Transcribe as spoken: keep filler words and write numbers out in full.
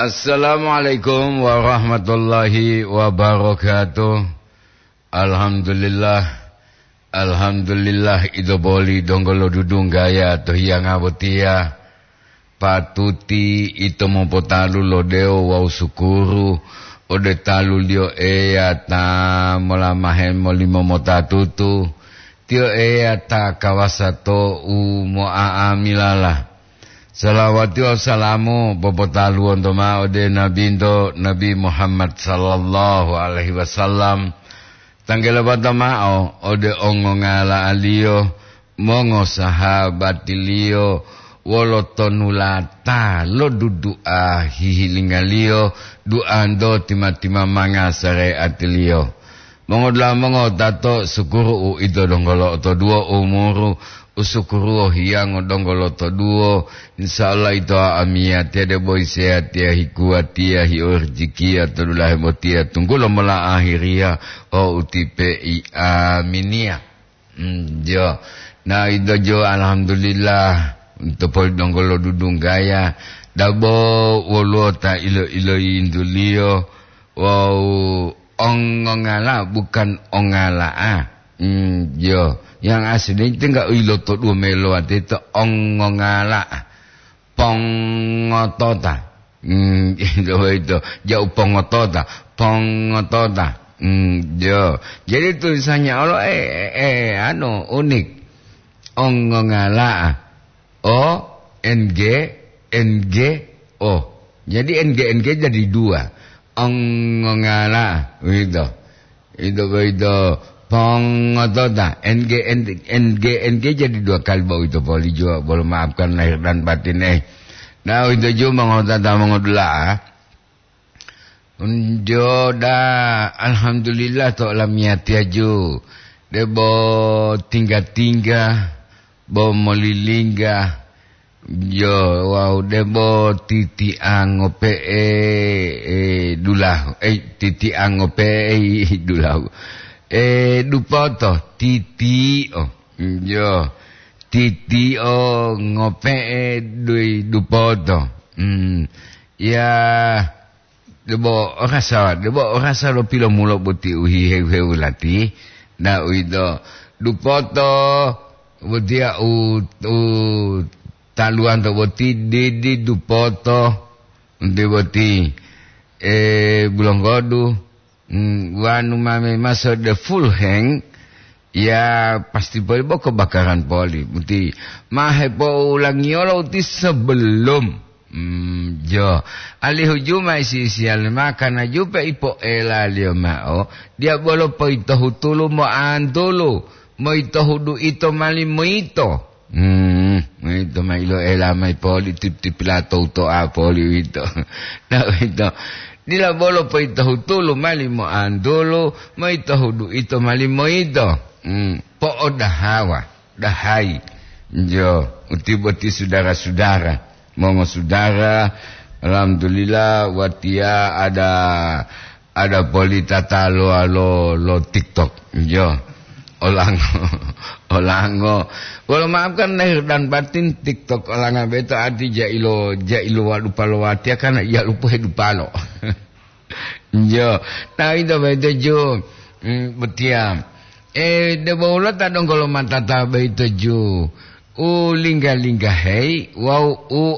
Assalamualaikum warahmatullahi wabarakatuh. Alhamdulillah. Alhamdulillah, ito boli donggo lo dudunggaya to hiyanga botiya. Patuti ito mopotalu lo dewo wawu sukuru ode talu-Liyo Eya ta molamahe molimo motatutu. Tiyo Eya ta kawasa to u mo'a'amilala. Salawati wawu salamu popotaluwonto ma'o ode Nabinto, Nabi Muhammad sallallahu alaihi wasallam. Tanggelopata ma'o ode ongongala'aliyo, mongosahabatiliyo, wolo tonulata lo dudu'a hihilingaliyo, duanto tima-timamanga sare'atiliyo. Mongodula'a mongotato, sukuru u ito donggo lo'otoduwo umuru, u sukuruwo hiyango donggo lo'otoduwo. Insya Allah ito amiyatiya debo iseyatiya hikuwatiya hiyo rijikiya to dulahe botiya tunggulo mola ahiriya o utipe'i. Aminiya. Mm, jo. Na ito jo, alhamdulillah, to poli donggo lo dudunggaya, dabo woluwo ta ilo-iloyintuliyo, wawu ongongala bukan ongala'a. Mm, jo. Yang asli tinggal ilotoduwo melowateto ongongala'a. Pongotota. Hmm, itu, itu. Jauh pongotota. Pongotota. Hmm, jo. Jadi tulisannya olo, eh, eh, eh, anu, unik. Ongongala. O, N G, N G, O. Jadi N G, N G jadi dua. Ongongala. Begitu. Ito boyito pongotota, N G, N G, N G jadi dua kali boyito poli juwa, bolo maafkan lahir dan batin, eh. Nah, ito ju mongotota mongodula'a. Unjo da, alhamdulillah to olamiyatiya ju. Debo tingga-tingga, bo molilingga, yo, wawu debo titiango pe'e, eh, dulahu, eh, titiango pe'e dulahu. Eh, dupoto, titio, yo, titio ngope'e dui dupoto. Hmm. Ya, debo rasa, debo rasa lo pilomulo boti u hihewu-hewu lati, na uwito dupoto botiya u, u taluwanto boti didi dupoto, nti boti, eh, bulonggodu, mm, wanu mame maso de full heng, ya pasti poli boko bakaran poli. Boti ma hepoulangiyolo uti sebelum. Hmm, jo. Alihu juma isi-isiyali ma kana jupe ipoelaliyo ma'o, diya bolo poyitohutulu moantulu, moyitohudu ito mali moyito. Hmm, moyito ma iloela mayi poli tip-, tipilato uto'a poli uwito. Na uwito, dila bolo poyitohutulu mali moantulu, moyitohudu ito mali moyito. Hmm, po'odahawa. Dahai. Jo, uti boti sudara-sudara, mongosudara, alhamdulillah, watiya ada, ada poli tatalo lo, lo TikTok. Jo, olango, olango. Wolo maafkan lahir dan batin, TikTok olanga beto ati jailo, jailo wadupa lo watiya karena iya lupu hedupalo. Jo, ta ito boyito ju, mm, botiya. Eh, debo wolo ta donggo lo matata boyito ju. U lingga-linggaheyi wawu u